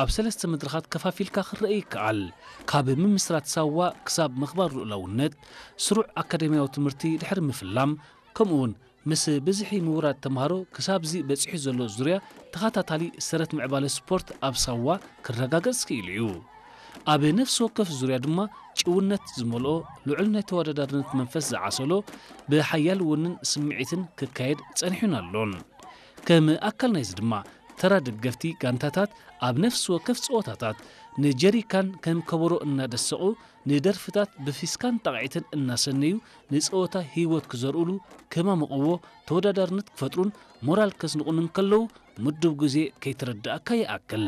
ኣብ ሰለስተ መድረኻት ከፋፊልካ ክረአ ይከኣል። ካብ ምምስራት ሳዋ ክሳብ ምኽባር ልኡላውነት፣ ስሩዕ ኣካዳሚያዊ ትምህርቲ ድሕሪ ምፍላም፣ ከምኡውን ምስ ብዝሒ ምውራድ ተምሃሮ ክሳብዚ በጺሑ ዘሎ ዙርያ ተኸታታሊ ሰረት ምዕባለ ስፖርት ኣብ ሳዋ ክረጋገጽ ክኢሉ እዩ። ኣብ ነፍሲ ወከፍ ዙርያ ድማ ጭውነት ዝመልኦ ልዑል ናይ ተወዳዳርነት መንፈስ ዝዓሰሎ ብሓያል ውንን ስምዒትን ክካየድ ጸኒሑን ኣሎን። ከም ኣካል ናይዚ ድማ ተራ ደገፍቲ ጋንታታት ኣብ ነፍሲ ወከፍ ጸወታታት ንጀሪካን ከም ከበሮ እናደሰቑ ንደርፍታት ብፊስካን ጣቕዒትን እናሰነዩ ንጸወታ ህይወት ክዘርእሉ ከማምቕዎ ተወዳዳርነት ክፈጥሩን ሞራል ከስንቑን እንከለዉ ምዱብ ግዜ ከይተረዳእካ ይኣክል።